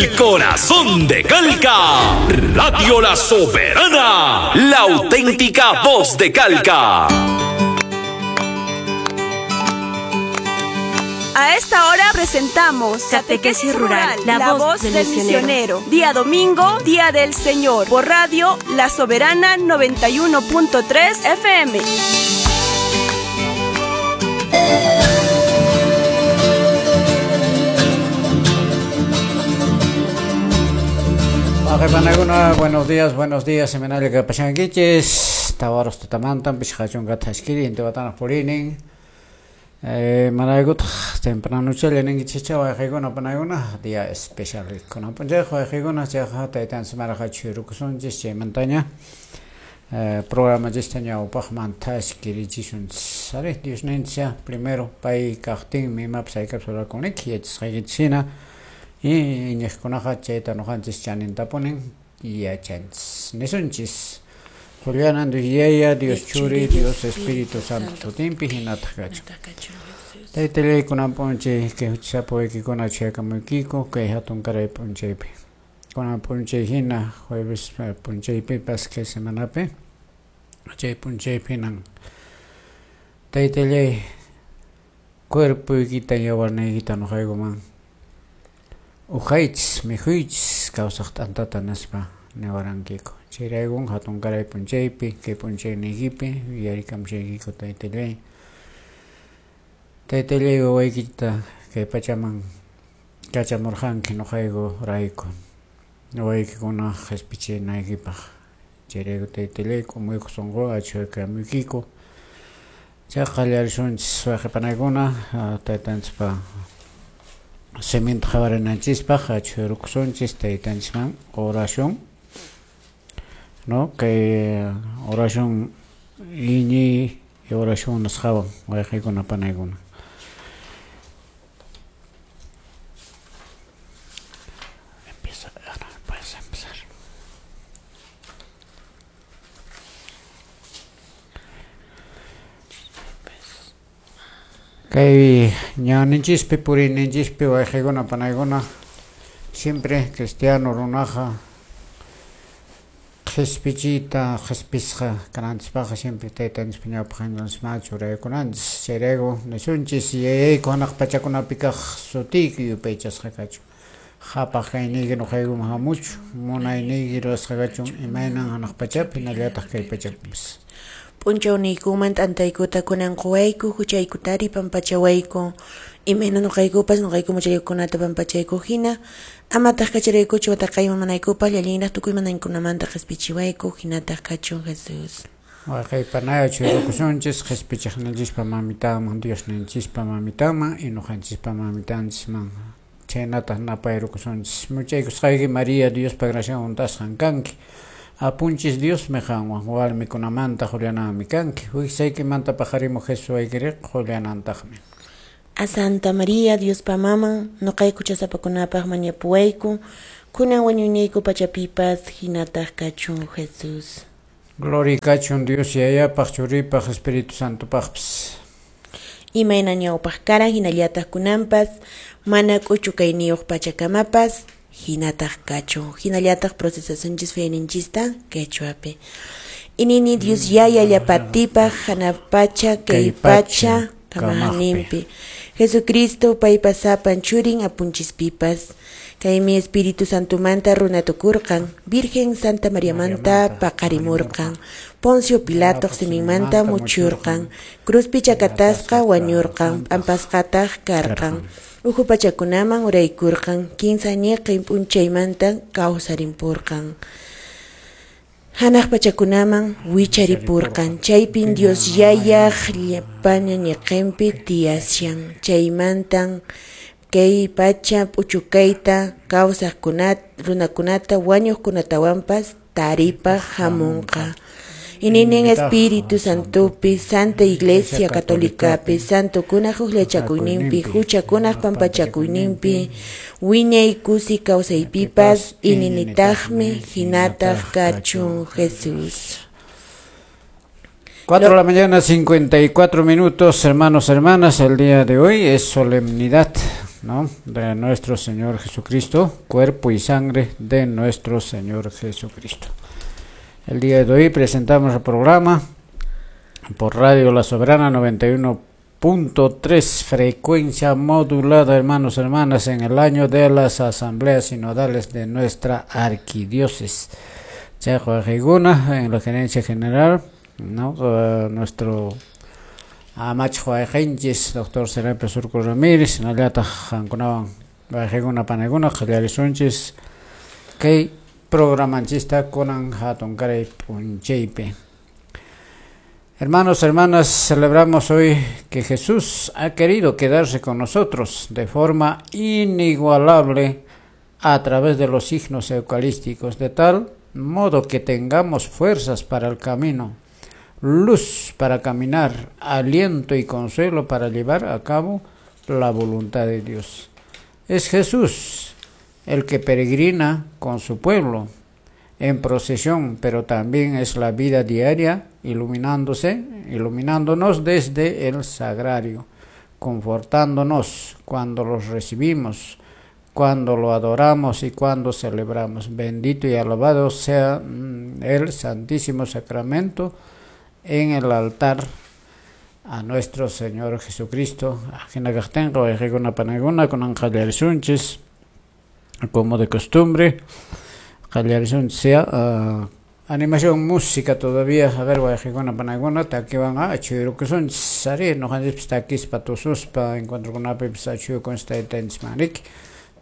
El corazón de Calca. Radio La Soberana, la auténtica voz de Calca. A esta hora presentamos Catequesis Rural, la voz del misionero. Día domingo, Día del Señor, por Radio La Soberana 91.3 FM. Buenos días, seminario que pasanquiches, tawaros tutamantan, pishqachunka thaskiri, intiwatana purinin. Manaygut temprano chale ninkichicha wayqaykuna panaykuna día especial kunan p'unchayqa wayqaykuna chayqa taytanchis maraqa chhurukusunchis chaymantaña programanchista ñawpaqman thaskirichisunchis. Ari Diosninchis primero pay kaqtinmi imapas hayk'apas rurakuniki yachasqaykichis hina y iñiqkunaqa chayta ñuqanchis chanintapunin yachanchis. Nisunchis Juliana, Dios Yaya, Dios Churi, Dios Espíritu Santo sutinpi hinataq kachun. Taytallay kunan p'unchay kay huchasapa waykikuna chayakamuykiko kay hatun karay p'unchaypi. Kunan p'unchay hina jueves p'unchaypipas kay semanapi chay p'unchaypi hinan taytallay cuerpoykita yawarniykita ñuqaykuman uqaychis mikhuychis kawsaq t'antata nispa niwarankiku. Chayraykun hatun karay p'unchaypi kay p'unchayniykipi yuyarikamushaykiko taytallay. Taytallay wawaykita kay pachaman kachamurqanki ñuqayku rayku wawaykikuna qhispichinaykipaq. Chayrayku taytallay k'umuyku sunquwan achhuyakamuykiku. Chay qallarisunchis wayqipanaykuna taytanchispa siminta qhawarinanchispaq achhuyarukusunchis taytanchisman oración. No, kay oración iñiy oración nisqawan wayqaykuna panaykuna. Empieza, Ana, puedes empezar. Kay ñawninchispi puriyninchispi wayqaykuna panaykuna siempre cristiano runaqa qhispichiyta qhispisqa kananchispaqqa siempre taytanchispa ñawpaqninchikman churaykunanchis. Chayrayku nisunchis yayayku hanaq pachakunapi kaq sutiyki yupaychasqa kachun. Qhapaq kayniyki ñuqaykuman hamuchu, munayniyki rurasqa kachun imaynan hanaq pachapi hinallataq kay pachapipis. P'unchawniykuman t'antaykuta kunan quwayku, huchaykutari pampachawayku, imayna ñuqaykupas ñuqayku muchaykunata pampachayku hina, amataq kacharaykuchu wataqayman manaykupaq llallinraq tukuy manaykunamanta qhispichiwayku, hinataq kachun Jesús. Wayqaypanaya churakusunchis qhispichiqninchispa mamitanman, Diosninchispa mamitanman y ñuqanchispa mamitanchisman. Chaynataq napayrukusunchis. Muchaykusqayki María Diospa gracian huntasqan kanki. Apunchis Diosmi qanwan warmikunamanta Juliananmi kanki. Wiksaykimanta paqarimuq Jesús waykiriq Julianantaqmi. A Santa María Diospa maman, ñuqayku chasapakunapaq mañapuwayku, kunan wañuyniyku pachapipas hinataq kachun Jesús. Gloria kachun Dios Yayapaq, Churipaq, Espíritu Santopaqpis. Imayna ñawpaq karan hinallataq kunanpas, mana k'uchu kayniyuq pachakamapas, hinataq kachun. Hinallataq procesasunchis fayninchista quechuapi. Inini Dios Yaya llapatipaq hanaq pacha kay pacha kamaqninpi. Jesucristo paypa sapan churin apunchispipas. Kaymi Espíritu Santomanta runatukurqan, Virgen Santa Mariamanta paqarimurqan, Poncio Pilato siminmanta muchurqan, cruzpi chakatasqa wañurqan, p'ampasqataq karqan, uhu pachakunaman uraykurqan, kinsa ñiqin p'unchaymanta kawsarimpurqan. Hanaq pachakunaman wicharipurqan, chaypin Dios Yayaq llapaña ñiqinpi tiyashan, chaymantan kay pacha p'uchukayta kawsaqkunata runakunata wañuqkunatawanpas taripaq hamunqa. Ininin Espíritu Santopi, Santa Iglesia Católicapi, Santokunaq hukllachakuyninpi, huchakunaq pampachakuyninpi, wiñay kusi kawsaypipas, ininitaqmi hinataq kachun Jesús. 4 de la mañana, 54 minutos, hermanos, hermanas, el día de hoy es solemnidad ¿no?, de nuestro Señor Jesucristo, cuerpo y sangre de nuestro Señor Jesucristo. El día de hoy presentamos el programa por Radio La Soberana 91.3, frecuencia modulada, hermanos, hermanas, en el año de las asambleas sinodales de nuestra arquidiócesis. Chayqa wayqaykuna en la gerencia general, ¿no?, nuestro amachaq wayqinchis doctor Serapio Surco Ramírez, hinallataq qankunawan wayqaykuna panaykuna qallarisunchis kay programanchista kunan hatunkaray p'unchaypi. Hermanos, hermanas, celebramos hoy que Jesús ha querido quedarse con nosotros de forma inigualable a través de los signos eucarísticos, de tal modo que tengamos fuerzas para el camino, luz para caminar, aliento y consuelo para llevar a cabo la voluntad de Dios. Es Jesús el que peregrina con su pueblo en procesión, pero también es la vida diaria iluminándonos desde el sagrario, confortándonos cuando los recibimos, cuando lo adoramos y cuando celebramos. Bendito y alabado sea el Santísimo Sacramento en el altar a nuestro Señor Jesucristo. Como de costumbre, sea animación, música todavía. A ver, wayqikuna panaykuna takiwan achuyrukusunchis ari ñuqanchikpis takispa tususpa encuentrokunapipis achuyukunchis taytanchisman riki.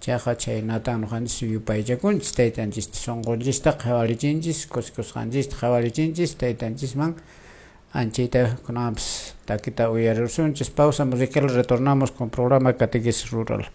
Chayqa chhaynatan ñuqanchis yupaychakunchis taytanchista, sunqunchista qhawarichinchis, kusikusqanchista qhawarichinchis taytanchisman anchayta kunanpis takita uyarisunchis. Pausa musical, retornamos con programa Catequesis Rural.